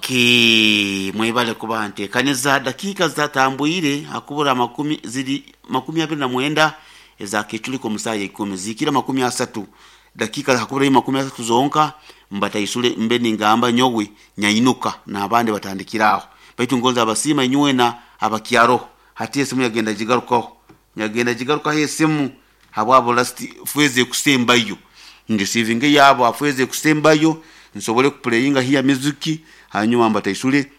Okay, mwebale kuba ntekaniza dakiika zatambwire hakubura makumi ziri 29 eza kechuliko musaye 10 zikira 30 dakika hakubura 30 zonka mbataisule mbe ningamba nyowe nyainuka na abandi batandikiraho baitu ngonza abasima inywena abakyaro hati esimu yagenda jigarukaho nyagenda jigarukaho esimu habwabo last fweze kusembayo ndisivinge yabo afweze kusembayo nsobole kuplayinga hiya miziki hanyuma mbataisule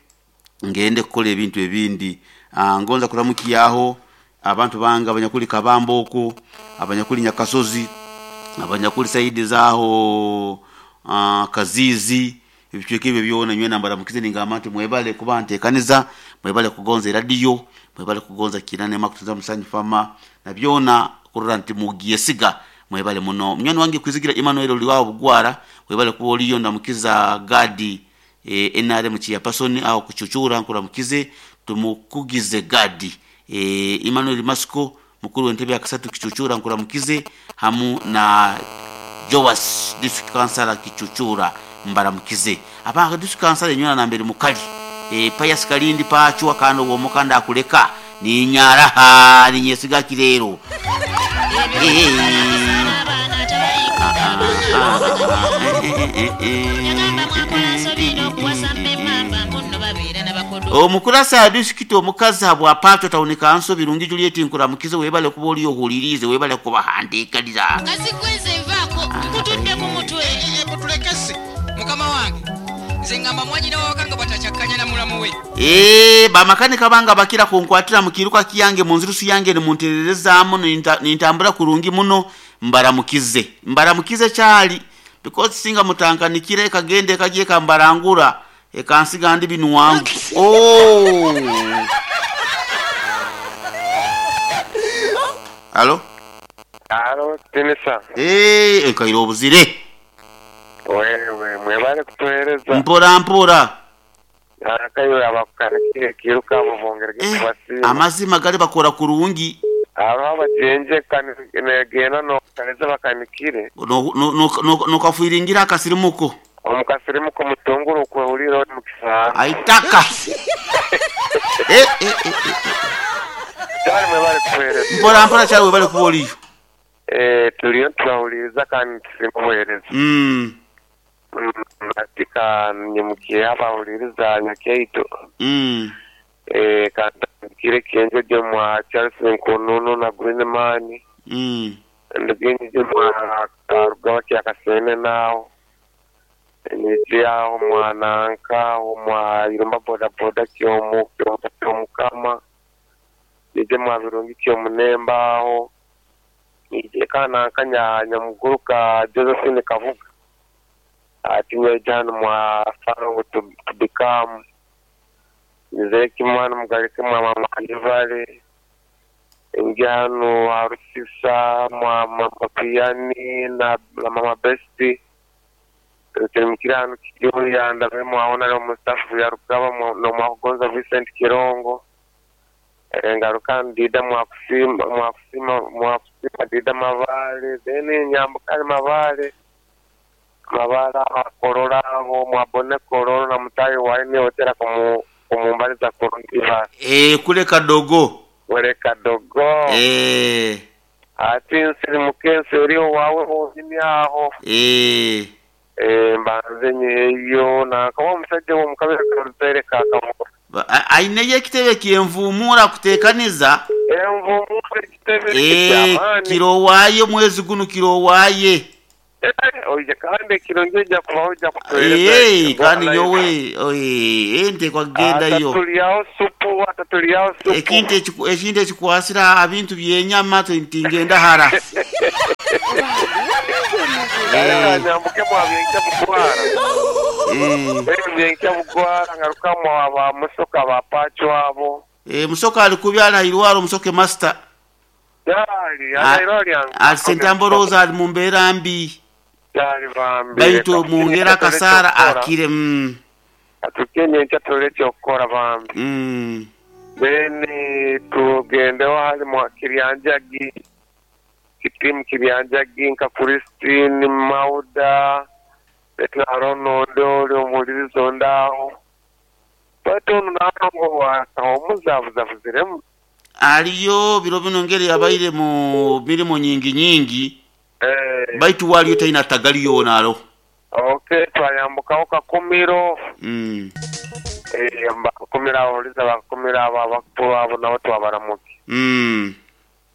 ngende kukola ebintu ebindi. Ngonza kuramukiyaho abantu banga abanyakuli Kabambo oko, abanyakuli Nyakasozi, abanyakuli saidi zaho Kazizi, ebicweka ebyo byona nywena mbaramukize ningamba nti mwebale kuba ntekaniza, mwebale kugonza radio, mwebale kugonza kinane makutuza musanyi fama na byona kurora nti mugiesiga mwebale muno. Munywani wange kwizigira Emmanuel oliwao bugwara, mwebale kuba oliyo ndamukiza Gadi NRM chairperson au kuchuchura nkuramukize tumukugize Gadi Emmanuel Masco mukuru w'entebe ya kasatu kichuchura nkuramukize hamu na Joas district councilor kichuchura mbaramukize abanga district councilor nyona nambere mukali Pius Kalindi pachwa kando wo mukanda akuleka ni nyaraha ni nyesiga kirero omukurasa ya district omukazi habwa pato town council Birungi Juliet nkuramukize webale kuba oli ohulirize webale kubahandikaliza kazi kweze nvaako nkutudde ku mutwe mutulekese mukama wange nze ngamba mwanyina wawakanga bwatakyakanya na mulamu we bamakanika banga bakira kunkwatira mukiruka kiyange munzirusu yange nimuntererezaamu nintambura kurungi muno mbaramukize mbaramukize kyali because singa mutankanikire kagende kagiye kambarangura ekansiga ndi binu wangu. Oh. Halo? Halo, Tinisa. Ekairo obuzire. Wewe, mwebale kutuhereza. Mpora mpora. Akayo abakukanikire kiruka bubongere kubasiima. Amazima gali bakora kurungi. Aba abajenje kanegena no kaneza bakanikire. No kafuiringira akasirimuko. Omukasirimuko mutunguru kwehulira ori mukisanga. Aitaka. Cyari mwebale kutuhereza. Mpora mpora cyari webale kuba oliyo. Turiyo turahuliriza kandi tusimuhereza. Katika nyimukiye abahuliriza nyakeito. Kandikire kienjo je mwa Charles Nkununu na Green Man. Ndgenje je mwa Rugaba kya Kasene nao. Nije aho mwananka mwa Irumba boda boda kyomu kyomukama. Nije mwa Birungi kyomunemba aho. Nije kana kanya nyamuguruka Josephine Kavuga. Ati nyajana mwa Farongo tubikamu. Nizeki mwana mugarike mwa mama Alivale. Njano Arusisa mwa mama Piani na mama Besti. Tulimkirano Kiyoya ndabe mwaona leo Mustafa ya Rugaba no mwa Vincent Kirongo. Ngaruka ndida mwa kusima dida mavale then nyambukali mavale. Mabara akorora aho mwabone korora na mutayi waine otera kumumbaliza kurungiva. Kule kadogo. Kule kadogo. Ati nsirimuke nseriyo wawe hozini aho. Mbanze nyeyo na kama omusajja w'omukabira karutere kakamukora. Aine ekitebe kyenvumura kutekaniza. Envumura ekitebe kyamaani. Kirowaye mwezi guno kirowaye. Oje kandi kirongeja kubahoja kutueleza. Kandi nyowe ente kwa genda yo. Atatuliao supu. Ekintu ekikwasira abintu byenyama tintingenda hara. Nyambuke mwa byenka bugwara. Byenka bugwara ngaruka mwa ba musoka ba pacho abo. Musoka alikubyala irwaro musoke master. Yali, yali. Alisentamboroza ali mumbeera mbi. Baitu mungera kasara akire Atukenye nchatolete okukora bambi. Then tugendeho hali mwa Kiryanjagi. Kitimu Kiryanjagi nka Christine Mauda. Betlarono ndoli omulirizo ndaho. Baitu onu nango omuzabuzabuziremu. Aliyo biro bino ngeri yabaire mu mirimu nyingi nyingi. Eh, Baitu waliyo taina tagali yona alo. okay, twayambukaho Kakumiro. Mm. Eh, Kakumiro abawuliza Bakakumiro abo abakuru abo nabo twabaramuki. Mm.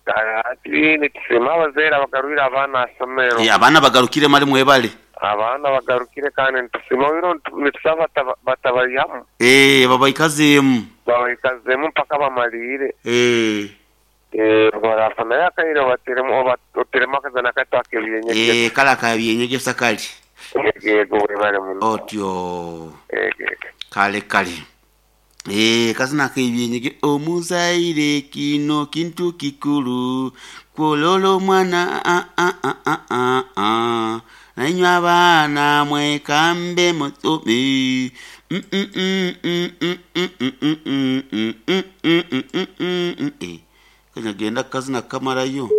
Ati nitusiima abazaire abagarwire abaana asomero. Abaana bagarukire mali mwebale. Abaana bagarukire kandi nitusiima biro nitusaba batabayihamu. Babaikazeemu. Babaikazeemu mpaka bamalire. Eh. Barafa naye akaire obateremu oteremu akazana kato akebyenyegesa. Kale akabyenyegesa kali. Yego webale muno. Otyo. Yego. Kale kale. Kazina akebyenyege omuzaire kino kintu kikulu kwololo mwana a a a a a a nainywe abaana mwekambe musome. Kanya genda kazina kamarayo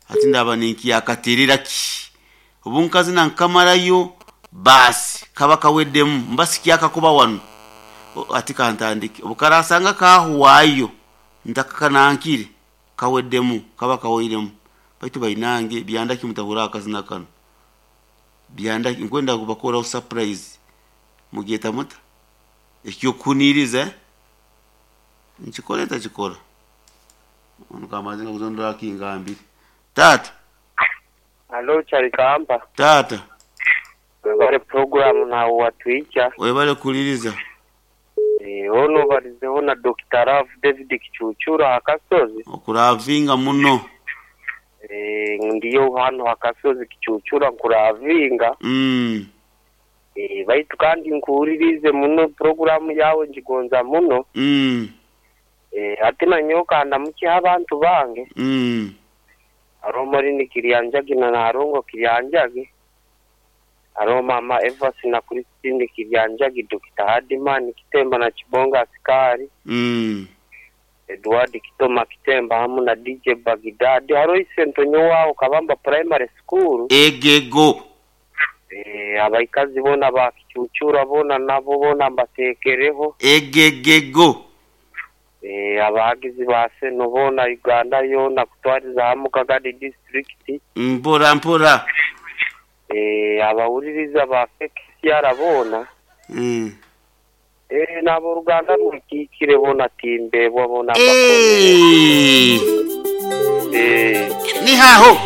ati ndaba ninkiyakaterera ki obu nkazina nkamarayo basi kaba kaweddemu mba sikyakakuba wano. Ati kantandike obukarasanga kahuwayo ntakakanankire kaweddemu kaba kawairemu. Baitu bainange byandaki mutahura akazina kano byandaki nkwenda kubakoraho surprise mugyeta muta ekyokuniriza nkikora ntakikora ono kamaze nga kuzondora kingambire. Tata. Alo Charikamba. Tata. Webale program na watwicha. Webale kuliriza. Ono barizeho na Dr. Rav David Kichuchura akasozi. Okuravinga muno. Ndiyo hano akasozi Kichuchura nkuravinga. Baitu kandi nkuhuririze muno programu yawe njigonza muno. Ati nanyoka ndamukiha abantu bange. Aro ni Kiryanjagi na Narongo Kiryanjagi. Aro mama Eva na Christine Kiryanjagi, Dr. Hadiman Kitemba na Chibonga Askari. Edward Kitoma Kitemba hamu na DJ Bagidadi. Haro isentonyo wao Kabamba Primary School. Egego. Abaikazi bona ba Kichuchura bona nabo bona mbatekereho. Egegego. Abahagizi ba seno bona Uganda yona kutwariza hamu Kagadi district. Mpora mpora. Abawuliriza ba KCR bona. Nabo Ruganda rwikikire bona timbebwa bona Ni haho.